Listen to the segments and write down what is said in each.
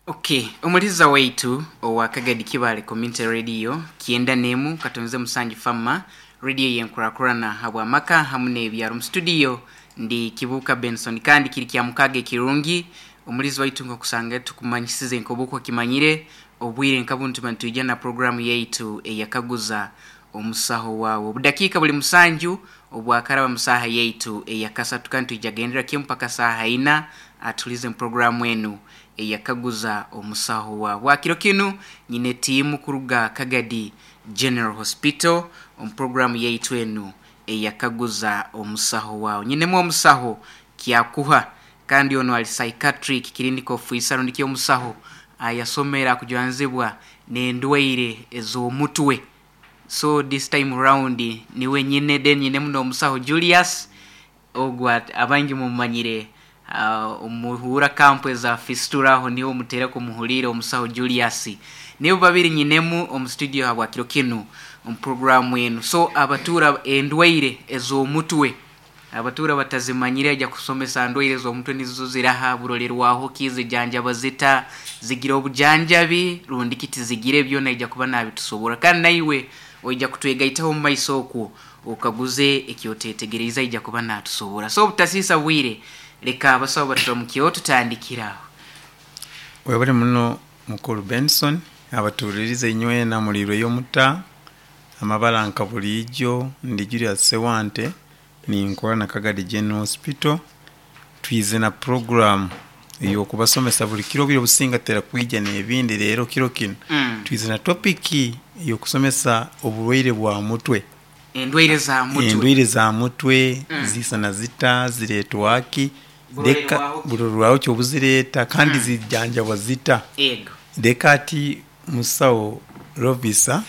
Okay, omuliza waitu owa Kagadi Kibale Community Radio 91.7 Fama radio yenkurakurana habwamaka hamu n'ebyaro. Mu studio ndi Kibuka Benson, kandi kiri kya mukaga ekirungi omulizi waitu nkokusanga tukumanyisize nkobuko kimanyire obwire nkabuntu tuba nitwija na programu yaitu eyakaguza omusaho wawe. Obudakiika buli 7 obwakaraba musaha yaitu eyakasatu, kandi twija gendera kimu mpaka saaha 4 atulize mu programu enu eyakaguza omusaho wawe. Bwakiro kinu nyine tiimu kuruga Kagadi General Hospital omu programu yaitu enu eyakaguza omusaho wawe. Nyinemu omusaho Kyakuha, kandi ono ali psychiatric clinical officer rundi ki omusaho ayasomera akujwanzibwa n'endwaire ez'omutwe. So this time round niwe nyine, then nyinemu n'omusaho Julius ogwo abangi mumumanyire omuhuura kampu eza Fistula aho niho mutera kumuhuliira omusaho Julius. Nibo babiri nyinemu omu studio habwa kiro kinu omu programu enu. So abatuura endwaire ez'omutwe abatuura batazimanyire aija kusomesa ndwaire ez'omutwe nizo ziraha, burolerwaho ki, zijanjaba zita, zigira obujanjabi rundi ki tizigire, byona aija kuba nabitusoborra. Kandi naiwe oija kutwegaitaho omu maiso okwo okaguze ekyotetegereize aija kuba natusoborra. So obutasiisa bwire, leka abasawo baturamukyeho tutandikire aho. Webale muno mukulu Benson, abatuhulirize inywena muliirweyo muta amabara nka buliijo. Ndi Julius Sewante, ninkora na Kagadi General Hospital. Twize na program ey'okubasomesa buli kiro obwire obusinga tutera kwija n'ebindi, leero kiro kinu twize na topiki ey'okusomesa oburwaire bwa mutwe. Endwaire za mutwe. Endwaire za mutwe zisana zita, zireetwa ki, leka burorwaho ki obuzireeta kandi zijanjabwa zita. Leka ati musawo Lovisa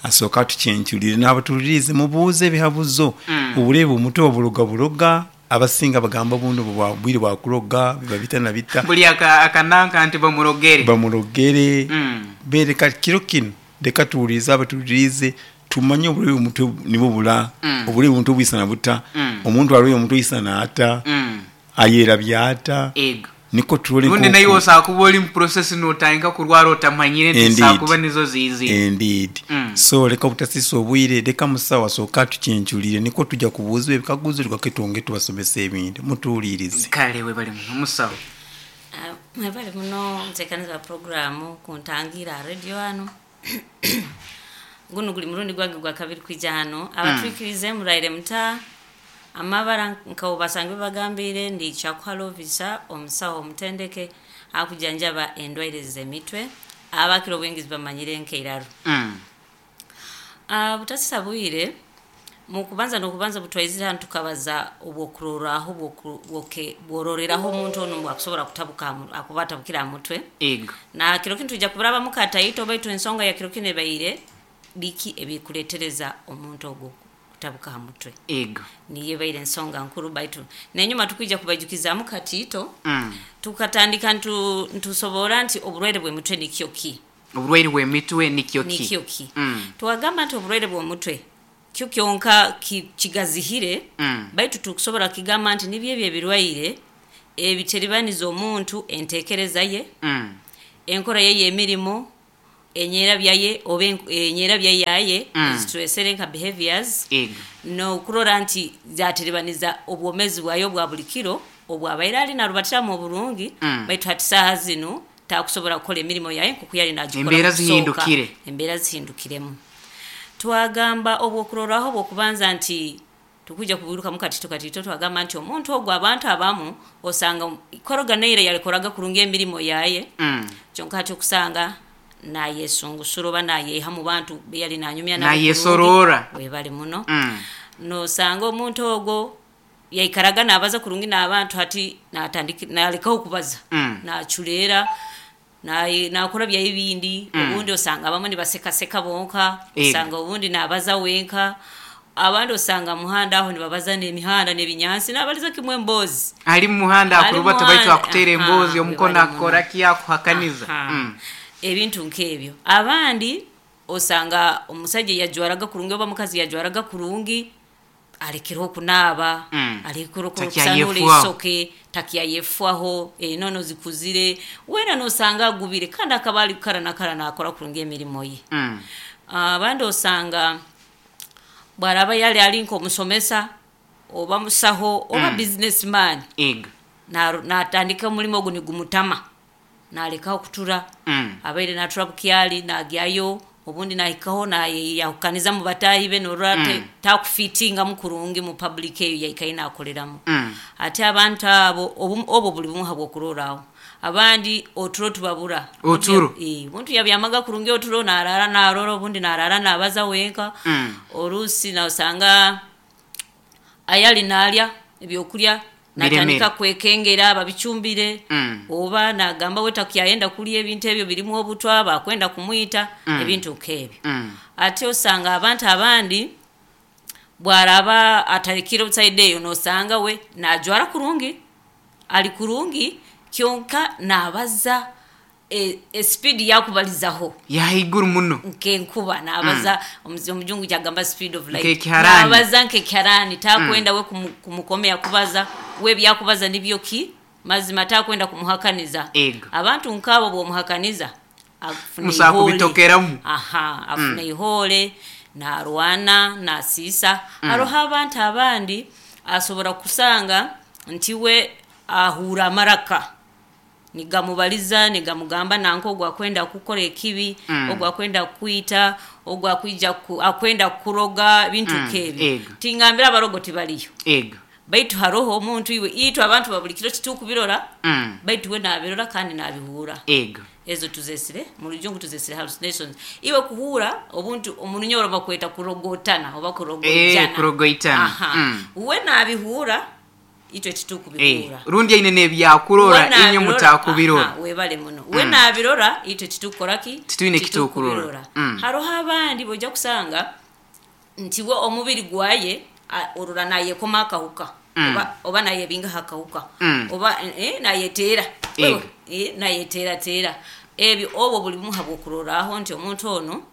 asooke atucencurire n'abatuhuliriize mubuuze ebihabuzo. Oburwaire bw'omutwe baburoga buroga, abasinga bagamba obundi bwire bwa kuroga biba bita na bita. Buli akananka nti bamurogere. Bamurogere. Leka kiro kinu leka tuwulirize abatuhuliriize tumanye oburwaire bw'omutwe nibwo bura, oburwaire bw'omutwe bwisana buta, omuntu arwaire omutwe aisana ata, ayerabya ata, nikwo turole Rundi naiwe osobola kuba ori mu process notandika kurwara otamanyire nti zisobola kuba nizo ziizire. Indeed. So leka obutasisa obwire, leka musawo asooke atucencurire nikwo tuja kubuuzibwa ebikaguzo tugaruke twongere tubasomese ebindi. Mutuwulirize. Kale webale muno musawo. Mwebale muno omuteekaniza wa puroguramu kuntangiira aha radio hanu. Gunu guri murundi gwange gwa kabiri kwija hanu. Abatwikiriize muraire muta? Amabara nka obu basangire bagambiire, ndi Kyakuha Lovisa, omusaho omutendeke akujanjaba endwaire z'emitwe, abakira obwingi zibamanyire nk'eiraru. Butasisa bwire, mukubanza n'okubanza obutwaizire hanu tukabaza obwokurorraho bwororeraho omuntu onu ngu akusobora kutabuka akuba atabukire aha mutwe. Na kiro kinu twija kuburabamu kataito baitu ensonga ya kiro kinu ebaire biki ebikuletereza omuntu ogu kutabuka aha mutwe. Niyo ebaire ensonga nkuru, baitu n'enyuma tukwija kubaijukizaamu katiito. Tukatandika ntusoborra nti oburwaire bw'emitwe nikyo ki? Oburwaire bw'emitwe nikyo ki? Nikyo ki? Twagamba nti oburwaire bw'omutwe kyo kyonka kigazihire, baitu tukusobora kugamba nti nibyo ebyo ebirwaire ebiteribaniza omuntu entekereza ye, enkora ye ey'emirimo, enyerabya ye oba enyerabya yaye ezitwesere nka behaviors, n'okurora nti zateribaniza obwomezi bwaye obwa buli kiro obwabaire ali narubatiramu oburungi, baitu hati saaha zinu takusobora kukora emirimo yaye nkoku yali nagikora Embeera mukusooka. zihindukire. Embeera zihindukiremu. Twagamba obwokurorraho obw'okubanza nti tukwija kubirukamu katito katito, twagamba nti omuntu ogu abantu abamu osanga koroga naira yalikoraga kurungi emirimo yaye, kyonka hati okusanga nayesungusura oba nayeha mu bantu beyali nanyumya nabo kurungi. Nayesoroora. Webale muno. Nosanga omuntu ogwo yaikaraga nabaza kurungi n'abantu, hati nalekaho kubaza, naculeera, nakora byaye ebindi. Obundi osanga abamu nibasekaseka bonka, osanga obundi nabaza wenka, abandi osanga muhanda aho nibabaza n'emihanda n'ebinyansi nabaliza kimwe emboozi. Ali mumuhanda Ali akurubata baitu muhanda, akuteera emboozi, omukono webale muno. akukora ki, akuhakaniza. Ebintu nk'ebyo. Abandi osanga omusaija yajwaraga kurungi oba mukazi yajwaraga kurungi, Alekere okunaaba, alekere okusanura Takyayefuaho. Isoke takyayefwaho, enono zikuzire, weena nosanga agubire kandi akaba ali kara na kara nakora kurungi emirimo ye. Abandi osanga bwaraba yali ali nk'omusomesa oba musaho oba businessman, Ego. Natandika omulimo ogu nigumutama, nalekaho kutura. Abaire natura bukyali nagyayo, obundi nahikaho nayeyahukaniza mu bataahi be, norora takufitingamu kurungi mu public eyo yaikaire nakoreramu. Ate abantu abo obwo buli bumu habwokuroraho. Abandi oturo tubabura. Oturo. Omuntu yabyamaga kurungi oturo, narara narora, obundi narara nabaza wenka. Orusi nosanga ayali nalya ebyokulya natandika kwekengera babicumbire, oba nagamba we takyayenda kulya ebintu ebyo birimu obutwa, bakwenda kumwita, ebintu nk'ebyo. Ate osanga abantu abandi bwaraba atarekire outside eyo, nosanga we najwara kurungi, ali kurungi, kyonka nabaza speed yakubalizaho yahaiguru muno nkenkuba nabaza. Omujungu kyagamba speed of light. Nkekiharani. Nabaza nkekiharani, takwenda we kumukomea kubaza, we byakubaza nibyo ki mazima, takwenda kumuhakaniza. Ego. Abantu nkabo bwomuhakaniza afuna Musa ihole. kubitokeramu. Aha, afuna ihole, narwana, nasiisa. Haroho abantu abandi asobora kusanga nti we ahura amaraka nigamubaliza, nigamugamba nanka ogwo akwenda kukora ekibi, ogwo akwenda kwita, ogwo akwija akwenda kuroga, bintu nk'ebyo. Ego. Tingambira abarogo tibaliyo. Ego. Baitu haroho omuntu iwe itwe abantu babuli kiro titukubirora, baitu we nabirora kandi nabihura. Ego. Ezo tuzesire mu rujungu tuzesire hallucinations. Iwe kuhura obuntu omurunyoro bakweta kurogotana oba kurogoitana. Kurogoitana. Aha. We nabihura, itwe titukubihura. Rundi aine nebyakurora, We nabirora, inye mutakubirora. Aha, webale muno. We nabirora, itwe titukora ki? Titwine kitukurora. Titukurora. Haroho abandi bojja kusanga nti we omubiri gwaye orora nayekoma akahuka. Oba nayebinga akawuka. Oba nayeteera. Nayeteerateera. Ebyo obwo buli bumu habwokuroraho nti omuntu ono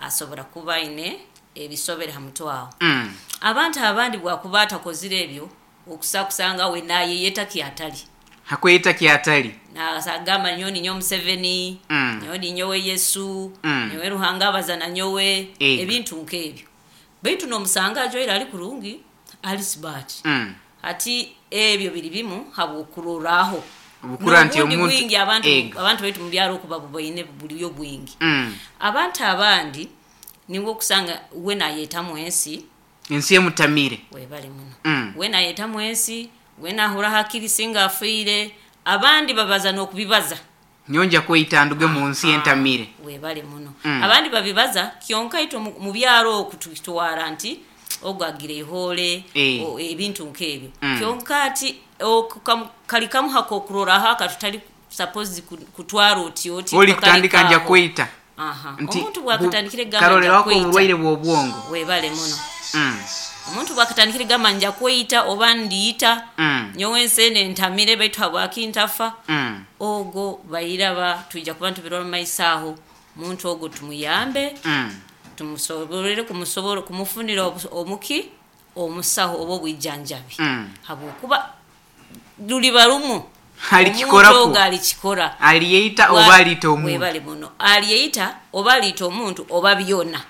asobora kuba aine ebisobere ha mutwe aho. Abantu abandi bwakuba atakozire ebyo, okusa kusanga we nayeyeta kyatali. Hakweyeta kyatali. Nasagamba nyowe ninyowe Museveni, nyowe ninyowe Yesu, nyowe Ruhanga abazana nyowe, ebintu nk'ebyo. Baitu nomusanga ajwaire ali kurungi, ali smart. Ati ebyo biri bimu habwokuroraho. Obukura nti N'obundi omuntu bwingi abantu baitu mu byaro okuba bubaine buliyo bwingi. Abantu abandi niwe okusanga we nayetamu ensi. Ensi emutamire. Webale muno. We nayetamu ensi, we nahura hakiri singa afiire, abandi babaza n'okubibaza. Nyonja kweyita nduge mu nsi entamire. Webale muno. Abandi babibaza kyonka itwe mu byaro oku tutwara nti ogwo agira ihole, ebintu nk'ebyo. Kyonka ati kali kamuha kokuroraho akatutali suppose kutwara oti oti. Oli Kakali kutandika nja kaho. kweyita. Aha. Nti Omuntu bwakatandikire gamba karolera nja wako kweyita. obulwaire bw'obwongo. Webale muno. Omuntu bwakatandikire gamba nja kweyita oba ndiyita, nyowe ensi eno entamire baitu habwaki ntafa. Ogwo bayiraba twija kuba ntubirora mu maiso aho, omuntu ogwo tumuyambe, tumusoborere kumufunira omuki omusaho oba obwijanjabi. Habwokuba luliba lumu. Alikikorako. Omuntu ogwo alikikora. Aliyeyita oba aliita omuntu. Webale muno. Aliyeyita oba aliita omuntu oba byona.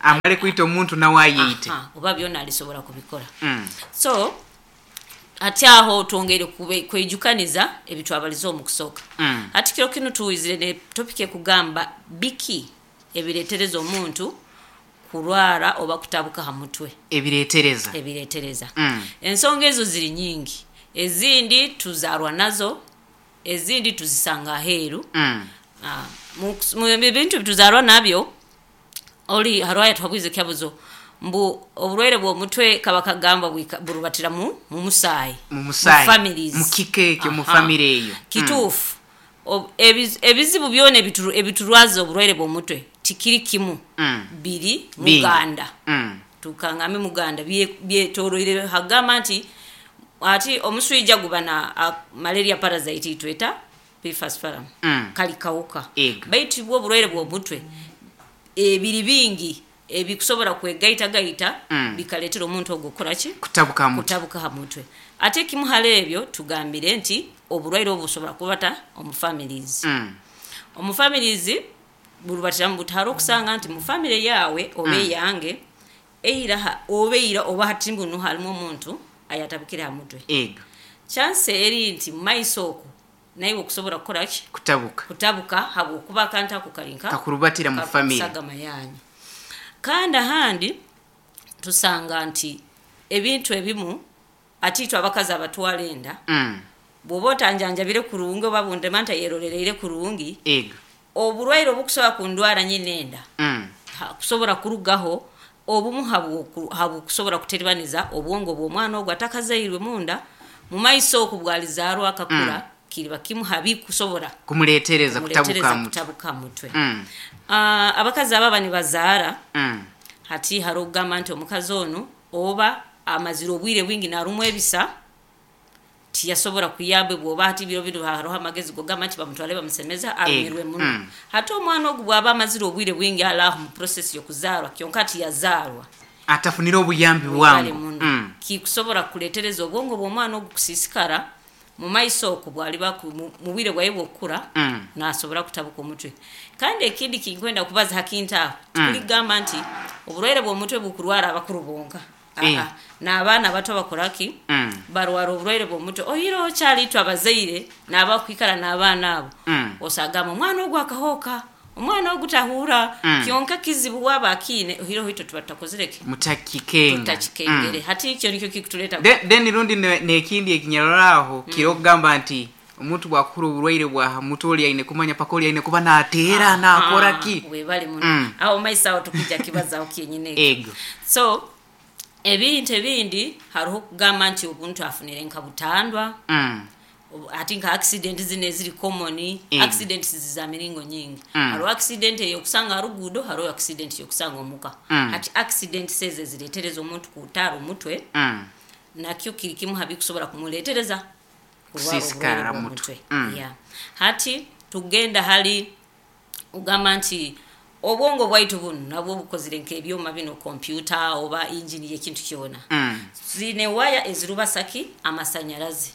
Amale kwita omuntu nawe ayeyite. Aha, oba byona alisobola kubikora. So ati aho twongere kwejukaniza ebitwabaliza omu kusooka. Ati kiro kinu tuwizire ne topic ekugamba biki ebireetereza omuntu kurwara oba kutabuka ha mutwe. Ebireetereza. Ebireetereza. Ensonga ezo ziri nyingi. Ezindi tuzarwa nazo, ezindi tuzisanga aheeru. Mu bintu tuzarwa nabyo, oli harwaya twabwize kyabuzo mbu obulwaire bw'omutwe kaba kagamba burubatira mu musaayi. Mu musaayi. Mu families. Mu kika ekyo, mu Aha. family eyo. Kituufu. Ebizibu byona ebiturwaza obulwaire bw'omutwe tikiri kimu. Biri Bingi. Muganda. Tukangambe Muganda byetoroire hagamba nti ati omuswija guba na malaria parasite itweta P. falciparum. Kali kawuka. Ego. Baitu bwo obulwaire bw'omutwe ebiri bingi. Ebikusobora kwegaitagaita bikaleetera omuntu ogwo kukoraki? Kutabuka ha mutwe. Kutabuka ha mutwe. Ate ekimu hali ebyo tugambire nti oburwaire obu busobora kubata omu families. Omu families burubatiramu buta? Haroho okusanga nti mu family yaawe oba eyange eira oba eira oba hati bunu harimu omuntu ayatabukire ha mutwe. Ego. Chance eri nti mumaiso oku naiwe okusobora kukoraki? Kutabuka. Kutabuka habwokuba akantu ako kali nka Kakurubatira mu family. Sagama yanyu. Kandi ahandi tusanga nti ebintu ebimu ati itwe abakazi abatwara enda, bw'oba otanjanjabire kurungi oba bundema ntayerolereire kurungi, Ego. Oburwaire obukusobora kundwara nyine enda kusobora kurugaho obumu habwokusobora kuteribaniza obwongo bw'omwana ogwo atakazairwe munda mumaiso oku bwalizaarwa akakura, kiriba kimu habikusobora kumuletereza kutabuka kumuletereza mutwe. Kutabuka mutwe. Abakazi ababa nibazaara, hati hariho okugamba nti omukazi onu oba amazire obwire bwingi narumwa ebisa, tiyasobora kuyambibwa, oba hati biro binu hariho amagezi gogamba nti bamutwale bamusemeza arumirwe muno. Hati omwana ogu bwaba amazire obwire bwingi ali aho mu process y'okuzaarwa, kyonka tiyazaarwa, atafunire obuyambi bwale bwangu muno, kikusobora kuletereza obwongo bw'omwana ogu kusiisikara mumaiso oku bwaliba mu bwire bwaye bw'okukura, nasobora kutabuka omutwe. Kandi ekindi kinkwenda kubaza ha kintu aho, tikuligamba nti oburwaire bw'omutwe bukurwara abakuru bonka. Aa, n'abaana abato bakoraki? Barwara oburwaire bw'omutwe. Oihireho okyali itwe abazaire n'abakwikara n'abaana abo, osagamba omwana ogu akahooka, omwana ogu tahuura, kyonka kizibu waaba akiine, oihireho itwe tuba tutakozire ki? Mutakikenga. Tutakikengere. Hati ekyo nikyo kikutuleeta. Then rundi nekindi ekinyararaho kiri okugamba nti omuntu bwakuhura oburwaire bwa mutwe oli aine kumanya paka oli aine kuba nateera nakora ki. Webale muno. Aho maiso aho tukijja kibazaho kyenyine ekyo. Ego. So ebintu ebindi hariho okugamba nti omuntu afunire nka butandwa, ati nka accident zino eziri common, accidents za miringo nyingi. Hariho accident eyokusanga ha ruguudo, hariho accident eyokusanga omuka. Hati accidents ezo eziretereza omuntu kutaara omutwe, nakyo kiri kimu habikusobora kumuletereza kurwara Kusiisikara oburwaire mutwe. bw'omutwe. Yeah. Hati tugenda hali ugamba nti obwongo bwaitu bunu nabwo bukozire nk'ebyoma bino, kompyuta oba engine y'ekintu kyona, zine waya ezirubasaki amasanyarazi.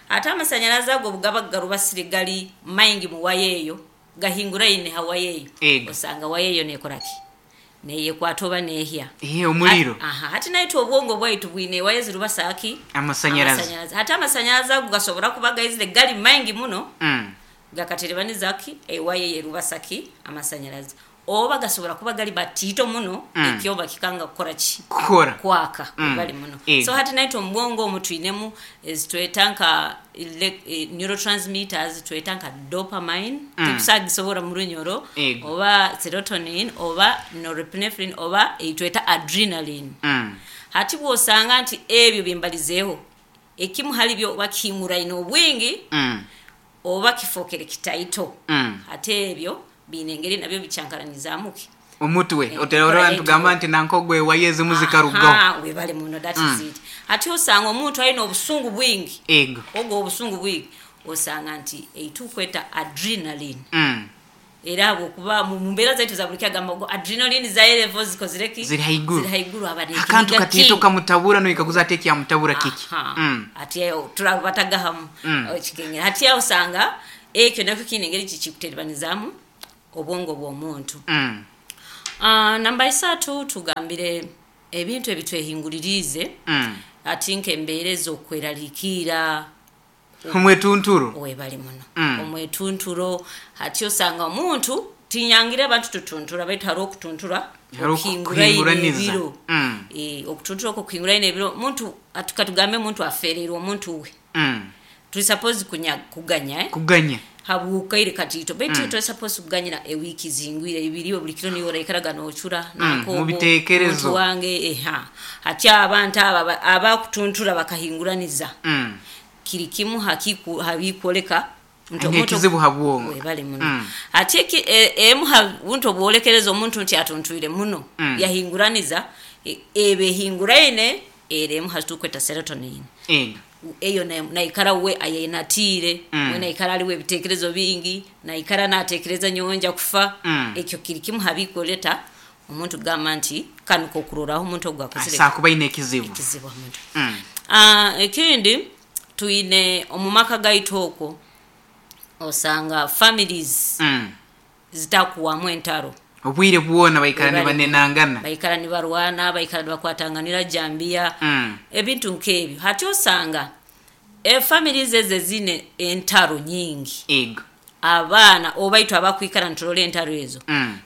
Ate amasanyarazi ago bugaba garubasire gali maingi mu waya eyo, gahinguraine ha waya eyo, Ego. osanga waya eyo nekoraki? Neyekwata oba nehya. Ihe omuliro. Aha, hati naitwe obwongo bwaitu bwine waya ezirubasaki amasanyarazi. Amasanyarazi. Hati amasanyarazi ago gasobora kuba gaizire gali maingi muno, gakaterebanizaki ewaya yerubasaki amasanyarazi, oba gasobora kuba gali batiito muno, ekyoba kikanga kukora ki? Kukora. Kwaka. Bali muno. Ego. So hati naitwe omubwongo omu twinemu ezitweta nka neurotransmitters, tweta nka dopamine, tikusagisobora mu runyoro, Ego. oba serotonin oba norepinephrine oba eitweta adrenaline. Hati bwosanga nti ebyo byembalizeeho ekimu hali byo oba kihinguraine obwingi, oba kifokere kitaito, ate ebyo biine engeri nabyo bikyankaranizaamuki? Omutwe. Enkola Oterora yaitu. ntugamba nti nankogwe waya ezimu zikarugaho. Aha, webale muno, that is it. Ate osanga omuntu alina obusungu bwingi, Ego. ogwo obusungu bwingi osanga nti eitukweta adrenaline, era habwokuba mu mbeera zaitu za buli kyagamba ogwo adrenaline zaye level zikozire ki? Ziri haiguru. Ziri haiguru, aba Akantu n'ekiniga katiito kingi. kamutabura noikaguza ate ekyamutabura kiki. Aha. Ati ayo turabatagahamu okikengera. Hati aho osanga ekyo nakyo kiine engeri kikikuterebanizaamu obwongo bw'omuntu. Namba isatu tugambire ebintu ebitwehinguririize, ati nk'embeera ez'okweraliikiira. Omwetunturo. Webale muno. Omwetunturo, hati osanga omuntu tinyangire abantu tutuntura, baitu hariho okutuntura Hariho okuhinguraine okuhinguraniza. ebiro. Okutuntura okwo okuhinguraine ebiro, omuntu katugambe omuntu afereirwe omuntu we, turi suppose kuganya, eh? Kuganya. Habwukaire katiito, baitu turi suppose kuganyira ewiiki zingwire ibiri, buli kiro niwe oraikaraga nocura nankobo, Mu biteekerezo. omuntu wange eha. Hati abantu aba abakutuntura bakahinguraniza, kiri kimu habikwoleka nti omuntu Ekizibu habwongo. Webale muno. Ate emu ha buntu obwolekereza omuntu nti atuntwire muno, yahinguraniza, eba ehinguraine era emu hatukweta serotonin. Ego. Eyo naikara we ayenatiire, we naikara aliwo ebiteekerezo bingi, naikara nateekereza nyowe nja kufa. Ekyo kiri kimu habikwoleta Omuntu kugamba nti kanu kokuroraho omuntu ogu akozire Asakuba aine ekizibu. Ekizibu ha mutwe. Mm. Ekindi twine omu maka gaitu okwo osanga families zitakuwamu entaro. Obwire bwona baikara Webale. Nibanenangana. Baikara nibarwana, baikara nibakwatanganira jambiya, ebintu nk'ebyo. Hati osanga efamilies ezo ezine entaro nyingi, Ego. Abaana obaitu abakwikara niturora entaro ezo,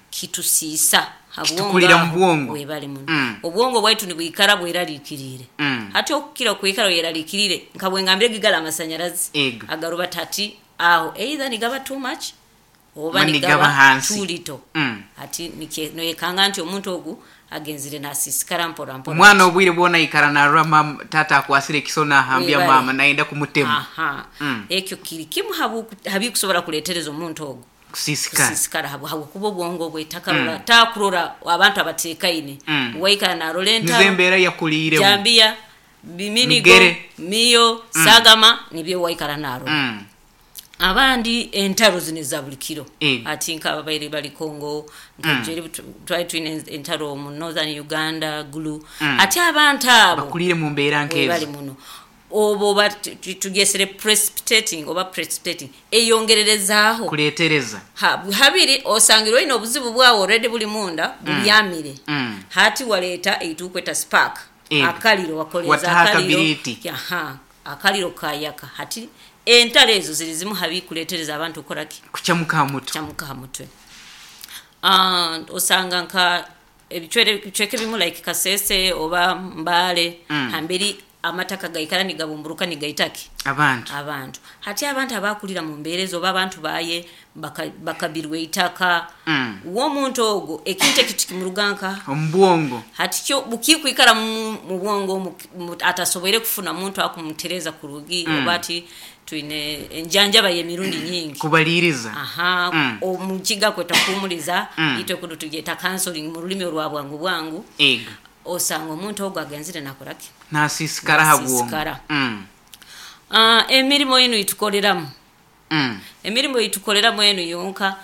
kitusiisa habwongo. Kitukurira mu Aho, bwongo. Webale muno. Obwongo bwaitu nibwikara bweraliikiriire. Hati okukira okwikara weraliikiriire, nka bwengambire gigala amasanyarazi Ego. agaruba hati aho either nigaba too much oba Oba nigaba nigaba hansi. too little. Hati noyekanga nti omuntu ogu agenzire nasiisikara mpora mpora. Omwana obwire bwona aikara narora mama tata akwasire ekiso nahambya Webale. mama nayenda kumutema. Aha. Ekyo kiri kimu habikusobora kuletereza omuntu ogu Kusiisikara. Kusiisikara habwokuba obwongo bwe takarora, takurora abantu abatekaine. Waikara narora Nizo entaro, embeera yakuliiremu. jambiya, biminigo, Migere. miyo, sagama, nibyo waikara narora. Abandi entaro zino eza buli kiro. Ego. Ati nk'ababaire bali Congo, nkajeri twali twine entaro mu northern Uganda, Gulu. Ate abantu abo Bakuliire mu mbeera webali nkezo. Muno obo oba tugesere precipitating oba precipitating eyongererezaaho Kuleetereza. Habiri osangire olina obuzibu bwawe already buli munda bubyamire. Hati waleeta eitukweta spark. Ego. Akaliro wakoleza Wataho akaliro. akabiriti. Aha, akaliro kayaka. Hati entalo ezo ziri zimu habikuletereza abantu okukoraki? Kucamuka ha mutwe. Kyamuka ha mutwe. Osanga nka ebicweka ebimu like Kasese oba Mbale, hamberi amataka gaikara nigabumburuka nigaitaki Abantu. Abantu. Hati abantu abakulira mu mbeera ezo oba abantu baye bakabirwa eitaka, w'omuntu ogwo ekintu ekyo tikimuruga nka Omu bwongo. Hati kyo bukikwikara mu bwongo atasoboire kufuna muntu akumutereza kurugi, oba ati twine enjanjaba y'emirundi nyingi. Kubaliiriza. Aha. Omukiga kweta kuhumuliza, itwe kuno tugyeta counseling mu rulimi orwa bwangu bwangu. Ego. Osanga omuntu ogwo agenzire nakoraki? Nasiisikara ha bwongo. Nasiisikara. Emirimu enu itukoreramu, emirimu itukoreramu enu yonka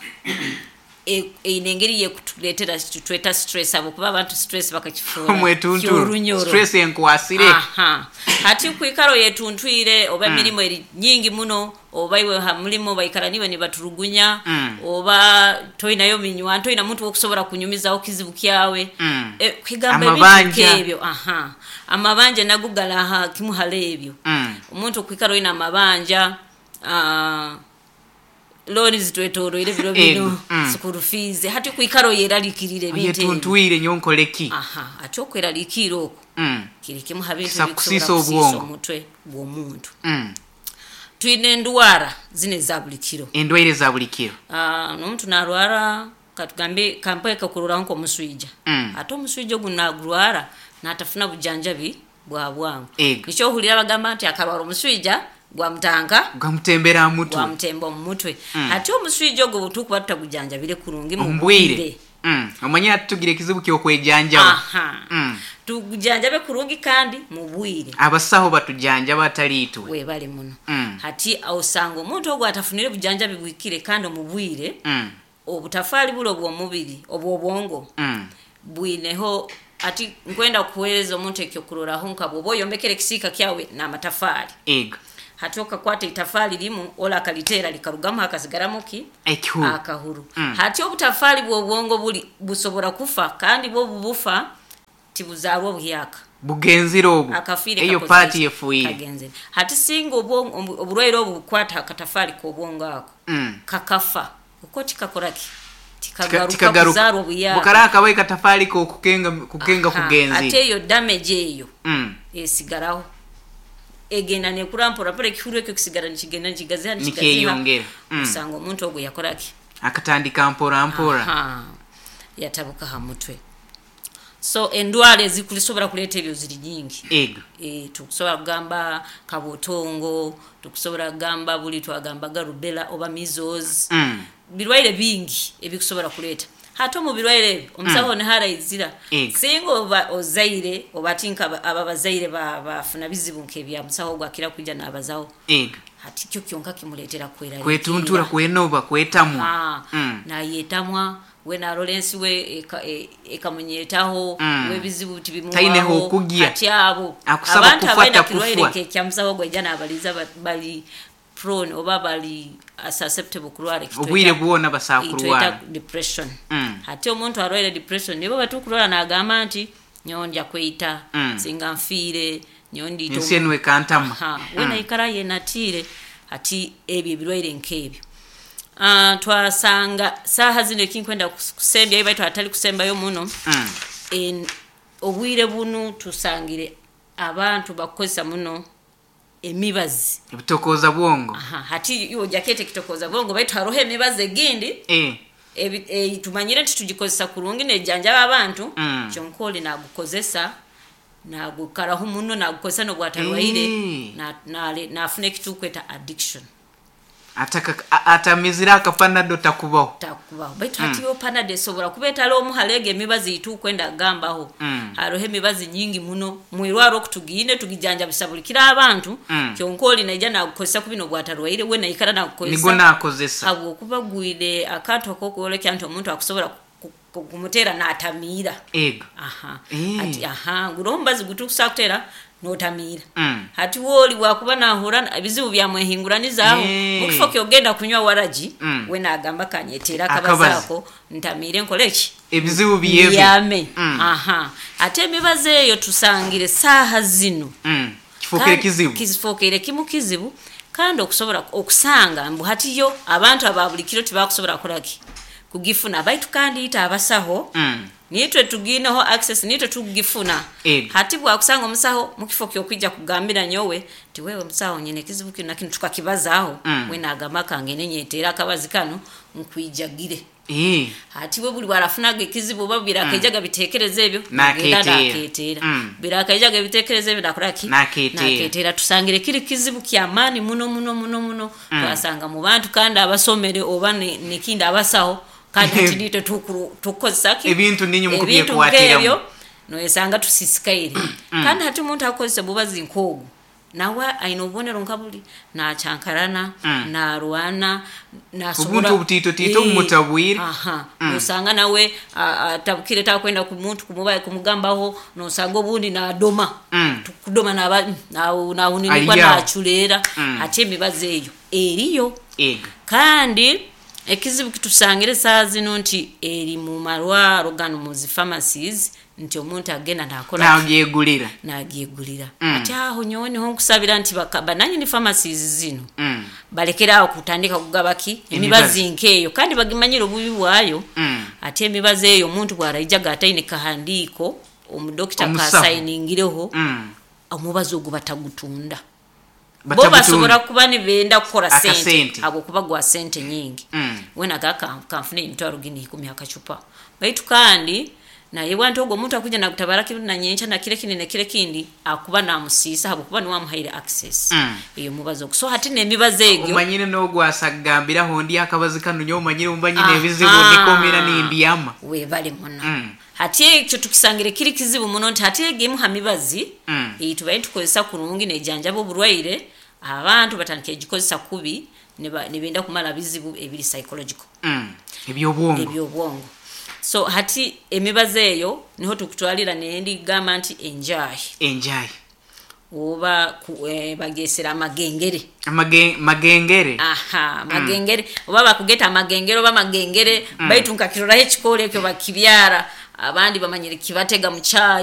eine engeri yekutuleetera tweta stress, habwokuba abantu stress bakakifuura Omwetunturo. kyorunyoro. Stress enkwasire. Aha. Hati kwikara oyetuntwire oba emirimu eri nyingi muno, oba iwe ha mulimo baikara niwe nibaturugunya, oba toinayo minywa, toina muntu wokusobora kunyumizaho kizibu kyawe. Kwigamba ebintu Amabanja. nk'ebyo. Aha, amabanja nago galaha kimu hali ebyo. Omuntu okwikara oina amabanja, looni zitwetoroire biro bino, Ego. School fees. Hati kwikara oyeralikirire ebintu ebyo. Oyetuntwire nyonkoleki. Aha, ate okweraliikirira okwo kiri kimu ha bintu Kisa ebikusobola kusiisa kusiisa obwongo. omutwe gw'omuntu. Twine endwara zino eza buli kiro. Endwaire za buli kiro. N'omuntu narwara, katugambe kampe kakuroraho nk'omuswija. Ate omuswija ogu nagurwara natafuna bujanjabi bwa bwangu. Ego. Nikyo ohurira bagamba nti akarwara omuswija gwamutanka Gamutembera ha mutwe. Gwamutemba omu mutwe. Ate omuswija ogwo bwetukuba tutagujanjabire kurungi mu Omu bwire. bwire. Omanye ati tugira ekizibu ky'okwejanjaba. Aha. Tugujanjabe kurungi kandi mu bwire. Abasaho batujanjaba atali itwe. Webale muno. Hati osanga omuntu ogwo atafunire bujanjabi bwikire kandi omu bwire, obutafaali bulo obw'omubiri obw'obwongo bwineho. Ati nkwenda kukuweereza omuntu ekyokuroraho, nka bwoba oyombekere ekisiika kyawe n'amatafaali, Ego. hati okakwata itafaali limu ola akaliteera likarugamu hakasigaramu ki? Ekihuru. Akahuru. Hati obutafaali bw'obwongo buli busobora kufa, kandi bwo bubufa tibuzaarwa obuhyaka. Bugenzire obwo. Akafiire. Eyo Kakoze paati ki? efuire. Kagenzere. Hati singa oburwaire obu bukwata akatafaali k'obwongo ako, kakafa uko tikakoraki, tikagaruka Tikagaruka. kuzaarwa obuyaka. Bukara akabaye katafaali kokukenga kukenga. Aha, ate Kugenzire. eyo damage eyo esigaraho, egenda nekura mpora mpora, ekihuru ekyo kisigara nikigenda nikigaziha, nikigaziha. Nikyeyongera. Osanga omuntu ogwo yakoraki? Akatandika mpora mpora. Aha, yatabuka ha mutwe. So endwara ezikulisobora kuleeta ebyo ziri nyingi. Ego. Tukusobola kugamba kabutongo, tukusobola kugamba buli twagambaga rubella oba measles. Birwaire bingi ebikusobola kuleeta. Hati omu birwaire ebyo omusawo niharaizira, Ego. singa oba ozaire oba ati nka aba bazaire bafuna bizibu nk'ebya musawo ogwo akira kwijja nabazaho. Ego. Hati kyo kyonka kimuleetera Kwetuntura, kwenoba, kwetamwa. Nayetamwa. We narora ensi we ekamunyetaho, webizibu Taineho tibimuwaho okugya. Ati abo Akusaba abantu kufa abaina takufwa. kirwaire nk'ekyamusaho gwaija nabaliza bali prone oba bali susceptible kurwara ekitweta- Obwire bwona basaa kurwara. itweta depression. Hati omuntu arwaire depression nibo batukurwara nagamba nti nyowe ndya kweita, singa nfiire nyowe ndiita. Ensi enu ekantama. Ha, we naikara yenatiire. Hati ebyo ebirwaire nk'ebyo, twasanga saaha zino ekinkwenda kusembyayo, baitu atali kusembayo muno, obwire bunu tusangire abantu bakukozesa muno emibazi. Ebitokooza bwongo. Aha, hati iwe ojakete ekitokoza bwongo, baitu haroho emibazi egindi tumanyire nti tugikozesa kurungi nejanjaba abantu, kyonka oli nagukozesa nagukaraho muno, nagukozesa nobwatarwaire, nafuna ekitukweta addiction. Atamizire akapanado takubaho. Takubaho, baitu hati yo panado esobora kuba etali omu haleega emibazi itukwenda kugambaho. Haroho emibazi nyingi muno mwirwaro okutugiine tugijanjabisa buli kiro abantu, kyonka oli naija nagukozesa kubi nobwatarwaire, we naikara nagukozesa. Nigo nakozesa. Habwokuba gwire akantu akokwolekya nti omuntu akusobora kumuteera natamiira. Ego. Aha. Ati aha guroho omubazi gutukusa kutera notamiira. Hati wooli bwakuba nahura ebizibu byamwehinguranizaho, mukifo kyogenda kunywa waragi, we nagamba kanyeteera Akabazi. akabazi ako ntamiire nkole ki? Ebizibu byebe. Byame. Aha, ate emibazi eyo tusangire saaha zino Kifuukire kizibu. Kifuukire kimu kizibu, kandi okusobora okusanga mbu hatiyo abantu aba buli kiro tibakusobora kukoraki kugifuna, baitu kandi ita abasaho nitwe tugineho access, nitwe tugifuna. Ego. Hati bwakusanga omusaho mukifo kyokwija kugambira nyowe ti wewe musaho nyine ekizibu kino nakino tukakibazaaho, we nagamba kangende nyeteera akabazi kano nkwijagire. Hati we buli bwarafunaga ekizibu oba birakaijaga biteekereza ebyo, nagenda Naketeera. naketeera. Birakaijaga ebiteekereza ebyo nakoraki? Naketeera. Naketeera. Tusangire kiri kizibu kyamaani muno muno muno muno. Twasanga mu bantu kandi abasomere oba nekindi abasaho, kandi hati nitwe tukukozesa ki? Ebintu ninyu Ebintu mukubyekwatiramu. nk'ebyo noyesanga tusisikaire. Kandi hati omuntu akozesa obubazi nk'ogu nawe aine obubonero nka buli nachankarana, narwana, nasobora Obuntu obutiitotiito bumutabwire. Aha, nosanga nawe atabukire takwenda ku muntu kumugambaho, nosanga obundi nadoma, kudoma naba nahuninikwa, Aliyaho. naculeera. Ate emibazi eyo eriyo. Ego. Kandi ekizibu kitusangire saa zino nti eri mu marwaro gano mu zi pharmacies, nti omuntu agenda nakora Nagyegulira. Nagyegulira. Ati aho nyowe niho nkusabira nti bananyini pharmacies zino balekerawo kutandika kugaba ki? Emibazi. Emibazi nkeeyo, kandi bagimanyire obubi bwayo. Ate emibazi eyo omuntu bwaraijaga ataine kahandiiko omudokita Omusaho. kasayiningireho, omubazi ogwo batagutunda. Bo Batabutunda. basobora kuba nibenda kukora Akasente. sente habwokuba gwa sente nyingi. Wena kanfune emitwaro gini 10 akacupa, baitu kandi naye bwanti ogwo omuntu akuja nakutabara kinu nanyencha nakire kindi nekire kindi akuba namusiisa habwokuba niwamuhaire access eyo mubazi ogwo. So hati n'emibazi egyo Omanyire n'ogwasagambiraho ndi akabazi kano nyowe omanyire mba nyine Aha. ebizibu nikomera nindyama. Webale muno. Hati ekyo tukisangire kiri kizibu muno nti hati egemu ha mibazi eyi tubaire tukozesa kurungi nejanjaba oburwaire, abantu batandika egikozesa kubi, nibenda kumara bizibu ebiri psychological. Ebyobwongo. Ebyobwongo. So hati emibazi eyo niho tukutwalira nendi gamba nti enjahi. Enjahi. Oba bagesera amagengere. Magengere. Aha, magengere, oba bakugeta amagengere oba magengere, baitu nkakiroraho ekikoro ekyo bakibyara, abandi bamanyire kibatega mu kyayi.